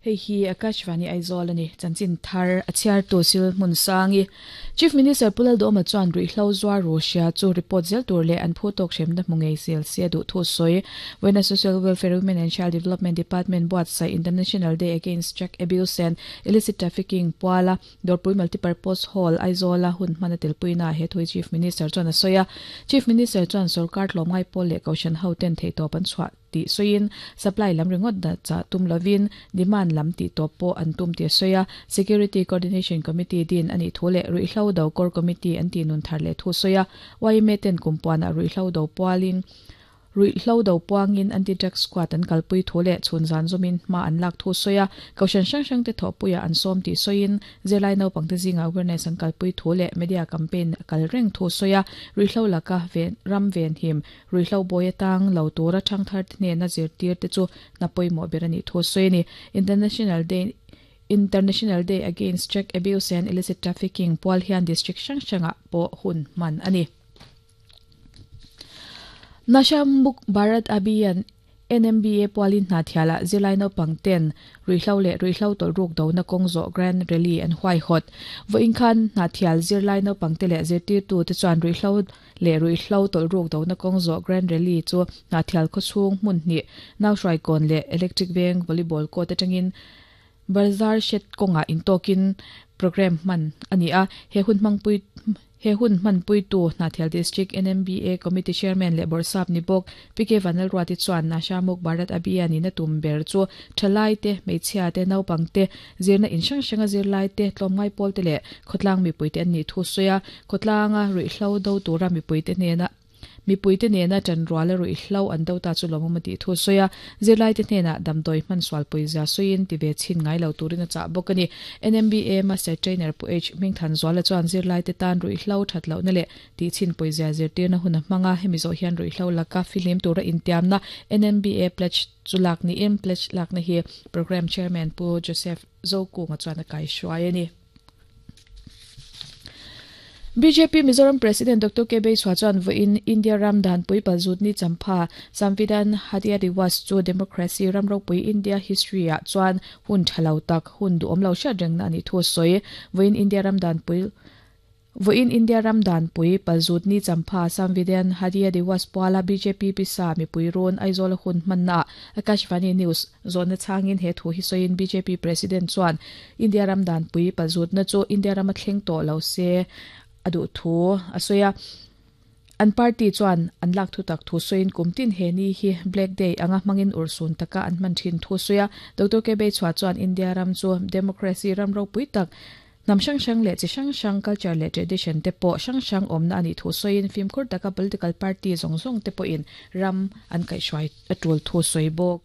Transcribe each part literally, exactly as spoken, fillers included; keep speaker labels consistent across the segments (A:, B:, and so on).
A: Hei hi Akashvani Aizawl ani chanchin thar a chhiar tu sil hmun sangi Chief Minister Pu Lalduhoma chuan ruihhlo zuar Russia chu report zel tur leh an phu tawk hremna hmu ngei zel se duh thu sawi vawiina Social Welfare Women and Child Development Department buatsaih International Day Against Drug Abuse and Illicit Trafficking puala Dawrpui Multipurpose Hall Aizawla hun hman a telpuina he thui Chief Minister chuan a sawi a Chief Minister chuan sorkar tlawmngai pawl leh kohhran ho ten theihtawp an chhuah tih sawiin supply lam ringawt dah chah tum lovin demand lam tih tawp pawh an tum tih a sawi a Security Coordination Committee din a nih thu leh ruihhlo do core committee an tih nun thar leh thu sawi a Y M A ten kumpuanah ruihhlo do pualin ruihhlo do puangin anti-drug squad an kalpui thu leh chhun zan zawmin hma an lak thu sawi a kohhran hrang hrang te thawhpuiah an sawm tih sawiin zirlai naupangte zingah awareness an kalpui thu leh media campaign a kal reng thu sawi a ruihhlo laka ven ram ven him ruihhlo bawi atang lo tura thangthar te hnena zirtir te chu hna pawimawh ber a nih thu sawi a ni International Day International Day Against Drug Abuse and Illicit Trafficking pual hian district hrang hrangah pawh hun hman a ni. Nasha Muk Bharat Abhiyan N M B A pualin hna thialah zirlai naupang ten ruihhlo leh ruihhlo tawlhruk dona kawng zawh Grand Rally an huai hawt. Vawiin khan hna thial zirlai naupang te leh zirtirtu te chuan ruihhlo leh ruihhlo tawlhruk dona kawng zawh Grand Rally chu hna thial khawchhung hmun hnih nauhruaikawn leh Electric Veng volleyball court atangin Bazar shed kawngah intawkin program hman a ni a he hun hmangpui he hun hmanpuitu Hnahthial District N M B A Committee Chairman leh Bawrhsap ni bawk P K Vanlalruati chuan Nasha Muk Bharat Abhiyan in a tum ber chu thalai te hmeichhia te naupang te zirna in hrang hranga zirlai te tlawmngai pawl te leh khawtlang mipui te an nih thu sawi a khawtlanga ruihhlo do tura mipui te hnena mipui te nena tanruala ruihhlo an do ta chu lawmawm a tih thu sawi a zirlai te hnena damdawi hman sualpui zia sawiin ti ve chin ngai lo turin a chah bawk a ni N M B A Master Trainer Pu H Hmingthan Zuala chuan zirlai te tan ruihhlo that lohna leh tih chin pui zia zirtirna hun a hmanga hemi zawh hian ruihhlo laka fihlim tura intiamna N M B A pledge chu lak niin pledge lakna hi Program Chairman Pu Joseph Zokunga chuan a kai hruai a ni. B J P Mizoram President Doctor K Bei chuan vawiin India ram danpui palzut ni champha Samvidhan Hatya Diwas chu democracy ram ropui India history ah chuan hun thalo tak hun duhawm lo hriat rengna ani thu sawi vawiin India ram danpui vawiin India ram danpui palzut ni champha Samvidhan Hatya Diwas puala B J P pisa mipui rawn Aizawl hun hmanna Akashvani News zawhna changin he thu hi sawiin B J P President chuan India ram danpui palzut na chu India rama thleng tawh lo se a duh thu a sawi a an party chuan an lak thu tak thu sawiin kumtin he ni hi Black Day anga hmangin ursun taka an hman thin thu sawi a Doctor K Beichhua chuan India ram chu democracy ram ropui tak nam hrang hrang leh chi hrang hrang culture leh tradition te pawh hrang hrang awmna ani thu sawiin fimkhur taka political party zawng zawng te pawhin ram an kaihhruai a tul thu sawi bawk.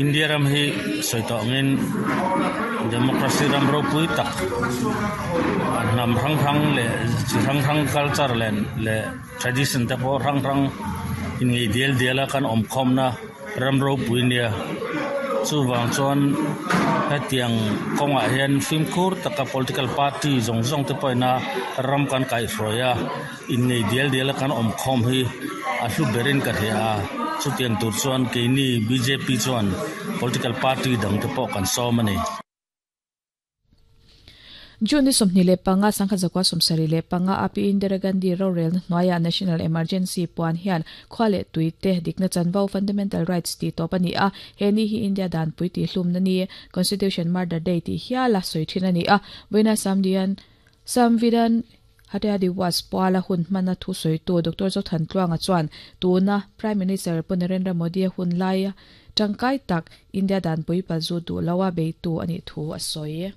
B: India ram hi sawi tawngin democracy ram ropui tak hnam hrang hrang leh chi hrang hrang culture leh leh tradition te pawh hrang hrang in ngei dial diala kan awm khawmna ram ropui nia chuwang chuan hetiang kawngah hian fimkhur taka political party zawng zawng te pawhina ram kan kaihhruai a in ngei dial diala kan awm khawm hi a hlu berin ka hria a chutiang tur chuan keini B J P chuan political party dang te pawh kan sawm a ni.
A: June ni sawmhnih leh panga sangkhat zakua sawmsarih leh panga A P Indira Gandhi rorel hnuaia National Emergency puan hian khua leh tui te dikna chanvo fundamental rights ti tawp ani a he ni hi India dan pui ti hlum na ni Constitution Murder Day ti hiala soi thin ani a vawiina Samdian Samvidhan Hatya Diwas puala hun hmana thu sawitu Doctor Zothan Tluanga chuan tuna Prime Minister Pu Narendra Modi hun laia tangkai tak India dan pui palzu du lawa beitu ani thu a sawi.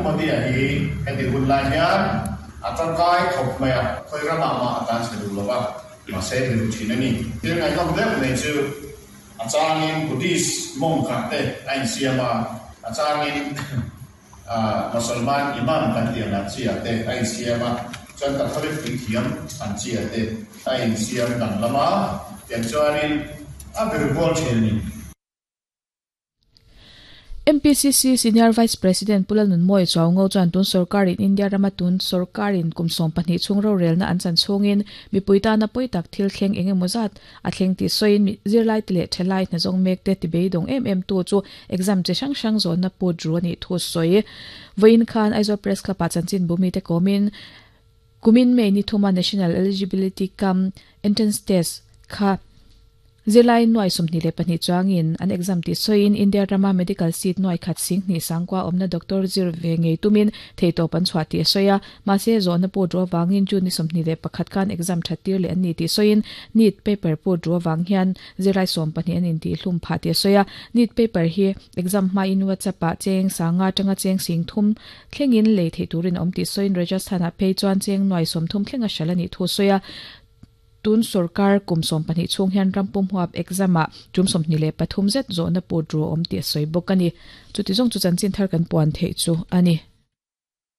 C: Modi hi heti hun lai hian a tangkai khawp mai a khoi rama ma atan se du lova ma se ri thin ani thil ngai nom deuh nei chu a changin Buddhist mong kha te a in siama a changin a Musalman imam kan ti ang chi a te a in siama chuan Catholic ti thiam an chi a te a in siam dang lama tiang chuanin a ber bol thin ani.
A: M P C C Senior Vice President Pulalun Moi Chawngo chuan tun sarkarin India rama tun sarkarin kumsom pahnih chungro relna an chan chungin mipuita na poitak thil thleng engemaw zat a thleng ti soin zirlai te leh thelai hna zawng mek te tibeidawng em em tu chu exam che hrang hrang zawn na put ru ani thu sawi vawiin khan Aizawl Press Club ah chanchin bumi te kawmin kumin May ni thuma National Eligibility Cum Entrance Test kha zirlai nuai sawmhnih leh pahnih chuangin an exam ti sawiin India rama medical seat nuai khat sing hnih sangkua awmna doctor zir ve ngei tumin theitawp an chhuah ti sawi a mahse zawhna put ru awangin June ni sawmhnih leh pakhat khan exam that tir leh an ni ti sawiin NEET paper put ru awang hian zirlai sawm pahnih an inti hlum phah ti sawi a NEET paper hi exam hmain WhatsApp ah cheng sanga tanga cheng sing thum thlengin lei thei turin awm ti sawiin Rajasthan ah phei chuan cheng nuai sawm thum thlenga hral ani thu sawi a tun sarkar kumsom pahnih chung hian rampum huap exam ah tum sawmhnih leh pathum zet zawhna put ru awm ti sawi bawk ani chuti zawng chu chanchin thar kan puan theih chu ani.